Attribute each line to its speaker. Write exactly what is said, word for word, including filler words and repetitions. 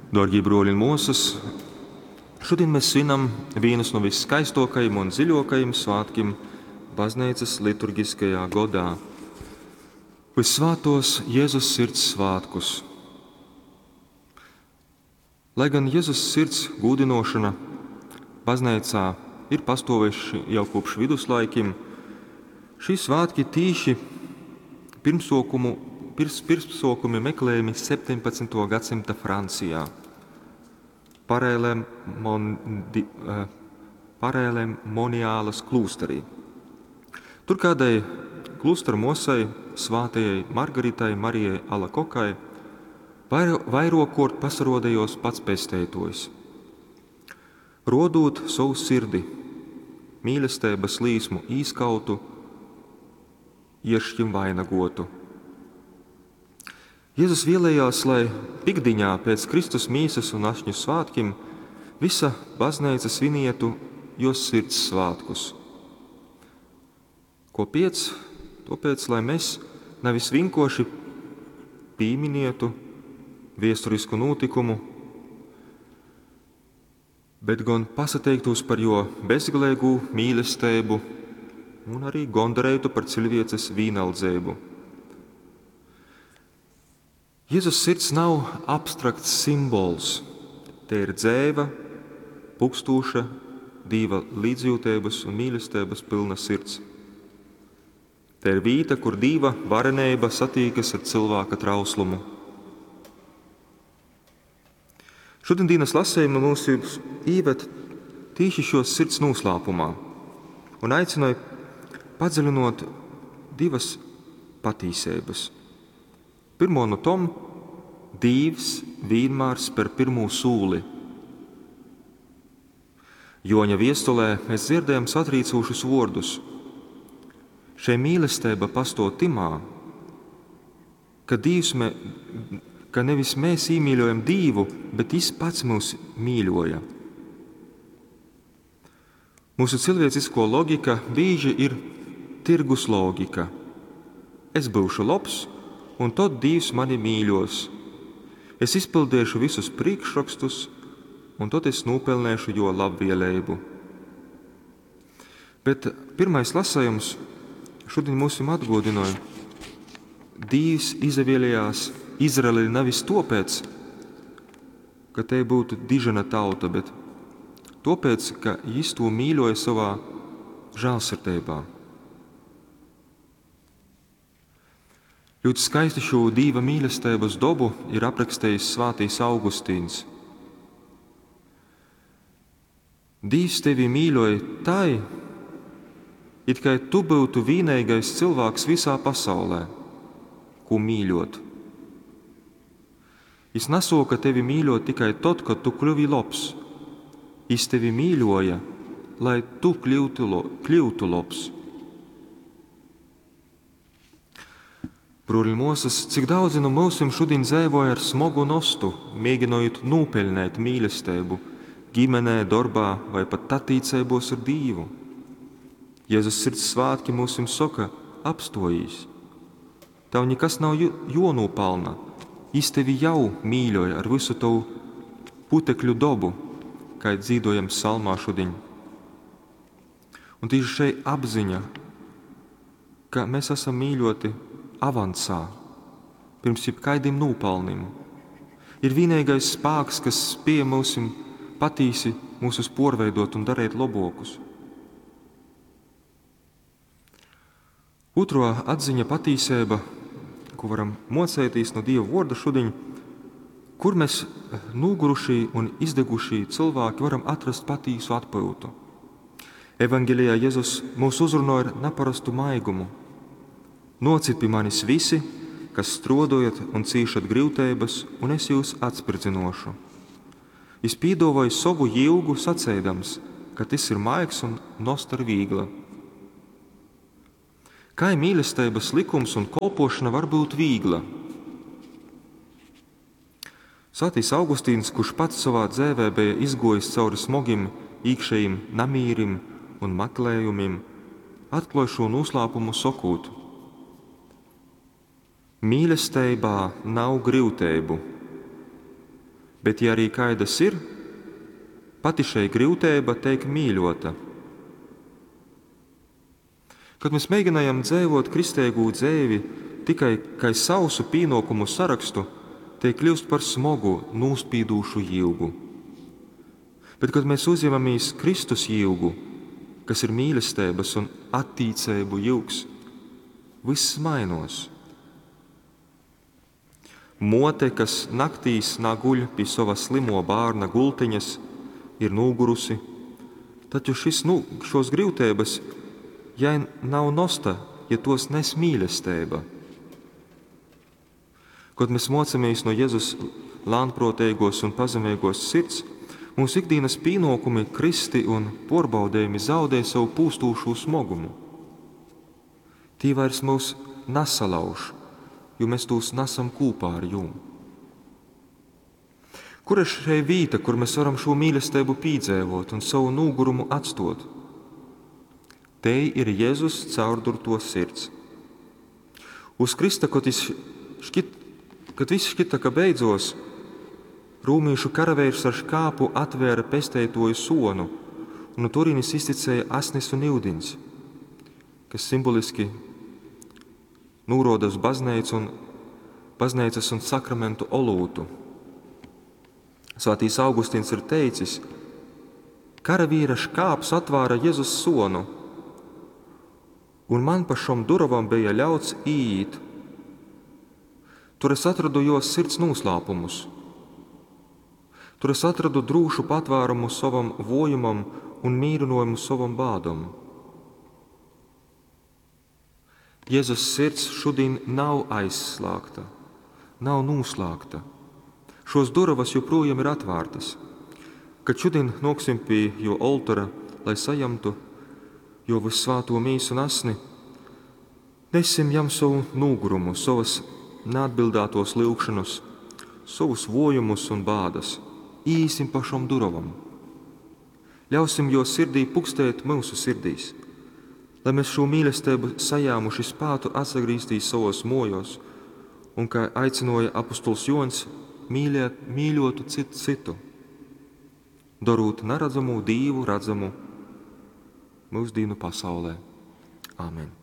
Speaker 1: Dārgie bruoļi un muosys, šodien mēs svinam vienus no viskaistākajiem un dziļākajiem svētkiem bazneicas liturgiskajā godā – Vissvētos Jēzus Sirds svētkus. Lai gan Jēzus sirds gūdinošana bazneicā ir pastovējuši jau kopš viduslaikim, šī svētki tīši pirmsokumu, pirms, pirmsokumi meklējami septiņpadsmito gadsimta Francijā. Parēlemondi, eh, Parēlemoniālas klūsterī. Tur kādai klūstera mosai, svātajai Margaritai Marijai Alakokai, vairo, vairokort pasarodējos pats pesteitojs. Rodūt savu sirdi, mīlestības līsmu īskautu, ieršķim vainagotu. Jēzus vēlējās, lai pikdiņā pēc Kristus mīsas un ašņu svētkim visa baznīca svinietu jo sirds svētkus. Ko piec? Tāpēc, lai mēs nevis vienkārši pīminietu viesturisku notikumu, bet gan pasateiktos par jo bezgalīgu mīlestību un arī gondarētu par cilvēces vīnaldzību. Jēzus sirds nav abstrakts simbols. Te ir dzēva, pukstūša, Dīva līdzjūtības un mīlestības pilna sirds. Te ir vīta, kur Dīva varenība satīkas ar cilvēka trauslumu. Šodien dienas lasījuma mūs īved tīši šo sirds noslēpumā un aicināja padziļinot divas patīsības. Pirmo no tom – Dīvs vienmēr spēr pirmo sūli. Joņa viestulē mēs dzirdējam satrīcošus vārdus. Šai mīlestība pastāv timā, ka Dīvs mē, ka nevis mēs iemīļojam Dīvu, bet Jis pats mūs mīļoja. Mūsu cilvēcisko logika bieži ir tirgus logika. Es būšu labs, un tad Dievs mani mīļos. Es izpildīšu visus priekšrakstus, un tad es nopelnīšu jo labvēlību. Bet pirmais lasījums šodien mums atgādināja, Dievs izvēlējās Izraeli nevis tāpēc, ka te būtu dižena tauta, bet tāpēc, ka Jis to mīļoja savā žēlsirdībā. Ļoti skaisti šo Dieva mīlestības dobu ir aprakstījis Svētais Augustīns. Dievs tevi mīļoja tai, it kā tu būtu vienīgais cilvēks visā pasaulē, ko mīļot. Jis nesoka tevi mīļot tikai tad, kad tu kļuvi labs. Jis tevi mīļoja, lai tu kļūtu, lo, kļūtu labs. Bruoļi mūsas, cik daudzi no mūsim šodien dzīvoja ar smogu nostu, mēģinot nopelnīt mīlestību ģimenē, darbā vai pat attiecībos ar Dievu. Jēzus sirds svētki mūsim saka, apstojīs. Tev nekas nav jonūpelna. Jis tevi jau mīļoja ar visu tavu putekļu dobu, kā dzīvojam psalmā šodien. Un tieši šeit apziņa, ka mēs esam mīļoti avansā, pirms jebkādiem nopelnim, ir vienīgais spēks, kas spēj mūsim patīsi mūsus porveidot un darīt labokus. Otro atziņa patīsība, ko varam mocēties no Dieva vārda šodien, kur mēs nogurušī un izdegušī cilvēki varam atrast patīsu atpūtu. Evangelijā Jēzus mūs uzrunāja ar neparastu maigumu. Nocit pie manis visi, kas strodojat un cīšat grūtības, un es jūs atspridzinošu. Jis pīdavoja savu jilgu sacēdams, ka tas ir maigs un nost ar vīgla. Kā mīlestības likums un kolpošana var būt vīgla? Svētais Augustīns, kurš pats savā dzēvē bija izgojis cauri smogim iekšējiem namīrim un meklējumiem, atklāja šo noslēpumu sakot: Mīlestībā nav grūtību. Bet, ja arī kaidas ir, pati šei gryuteiba teik mīļota. Kad mēs mēģinājam dzīvot kristeigū dzeivi tikai kai sausu pīnokumu sarakstu, tei kļūst par smogu, nūspīdūšu jyugu. Bet, kad mēs uzņemamies Kristus jyugu, kas ir mīlestības un attīcību jyugs, viss mainos. Mote, kas naktīs naguļ pie sava slimo bārna gultiņas, ir nūgurusi, taču šis, nu, šos gryutības jai nav nosta, ja tos nes mīlestība. Kad mēs mocamies no Jēzus lānprotīgos un pazemīgos sirds, mūsu ikdienas pienākumi, kristi un porbaudējumi zaudē savu pūstūšo smogumu. Tī vairs mūs nesalauž, jo mēs tos nesam kopā ar jū. Kur ir šī vieta, kur mēs varam šo mīlestību pīdzēvot un savu nūgurumu atstot? Te ir Jēzus caurdurto sirds. Uz Krista, kad, škit, kad viss šķita, ka beidzos, rūmīšu karaveirs ar škāpu atvēra pesteitoju sonu, un no turienes izticēja asnis un ūdens, kas simboliski nūroda uz baznīcu un baznīcas un sakramentu olūtu. Svētīs Augustīns ir teicis, karavīra škāps atvāra Jēzus sonu, un man pa šom duravam bija ļauts iet. Tur es atradu jo sirds noslēpumus. Tur es atradu drūšu patvērumu savam vojumam un mīrinojumu savam bādam. Jēzus sirds šodien nav aizslēgta, nav noslēgta. Šos durvas joprojām ir atvērtas. Kad šodien noksim pie jo oltora, lai sajamtu jo vissvāto mīsu un asni, nesim jam savu nūgurumu, savas neatbildētos lūgšanas, savus vojumus un bādas. Īsim pa šom durvam. Ļausim jo sirdī pukstēt mūsu sirdīs, lai mēs šo mīlestību sajāmuši spētu atgriezties savos mojos un, kā aicināja apustuls Jons, mīliet, mīļotu citu citu, darot neredzamu Dievu redzamu mūsdienu pasaulē. Āmen!